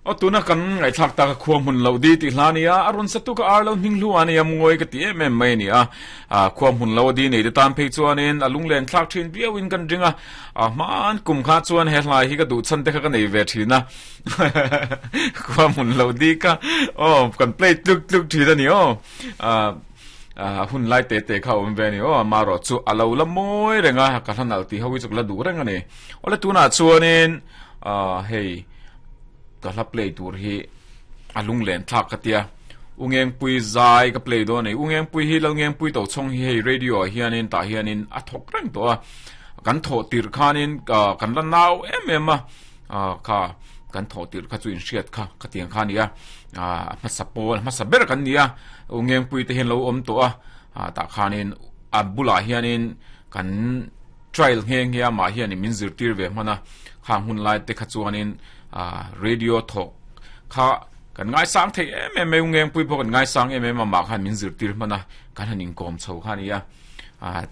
Aw tuna kan ngaihthlak tak a khua hmun loh di tih hla a ni a, a rawn satu ka ar lo hming hlu a nia mungawi ka ti em em mai a ni a. Khua hmun lo a di nei te tan phei chuanin a lunglen thlak thin viauin kan ring a, hmaan kum kha chuan he hlai hi ka duh chhan te kha ka nei ve thin a. Khua hmun loh di kha aw kan play tluk tluk thin a ni aw. A hun lai te te kha awm ve a ni aw, amaherawh chu a lo la mawi reng a, ka hla nalh tih ho hi chu ka la duh reng a ni. Awle tunah chuanin hei. Ka hla play tur hi a lunglen thlak ka tia. U Ngengpui zai ka play dawn a ni. U Ngengpui hi Lalngengpui Tochhawng hi hei radio ah hianin tah hianin a thawk reng tawh a. Kan thawh tirh khanin kan la nau em em a, kha kan thawh tirh kha chu inhriat kha ka tiang kha a ni a. A hmasa pawl hmasa ber kan ni a. U Ngengpui te hian lo awm tawh a, tah khanin a bulah hianin kan Trial nghe nghe amah hianin min zirtir ve hman a, khang hun lai te kha chuanin radio thawk kha kan ngaisang thei em em mai, Ungengpui pawh kan ngaisang em em a, amah khan min zirtir hman a, kan han inkawm chho kha a ni a,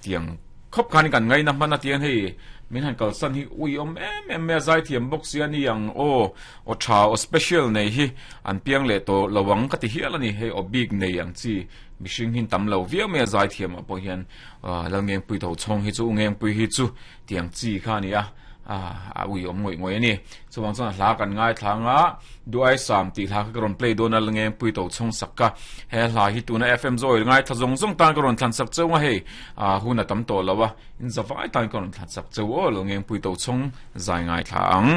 tiang khawp khan kan ngaina hman a tiang hei min han kalsan hi ui awm em em mai a, zaithiam bawk si a ni ang aw, aw tha aw special nei hi an piang leh tawh lo ang ka ti hial a ni, hei aw bik nei ang chi mihring hi an tam lo viau mai a zaithiam ah pawh hian. Lalngengpui tho chhawng hi chu U Ngengpui hi chu tiang chi kha a ni a, a ui awm ngawih ngawih a ni. Chuvang chuan hla kan ngaithla anga Duaisam tih hla kha ka rawn play dawn a Lalngengpui tho chhawng sak ka. He hla hi tuna FM Zawi ngaithla zawng zawng tan ka rawn thlan sak cheu a hei hun a tam tawh lo a, in zavai tan ka rawn thlan sak cheu aw Lalngengpui tho chhawng zai ngaithla ang.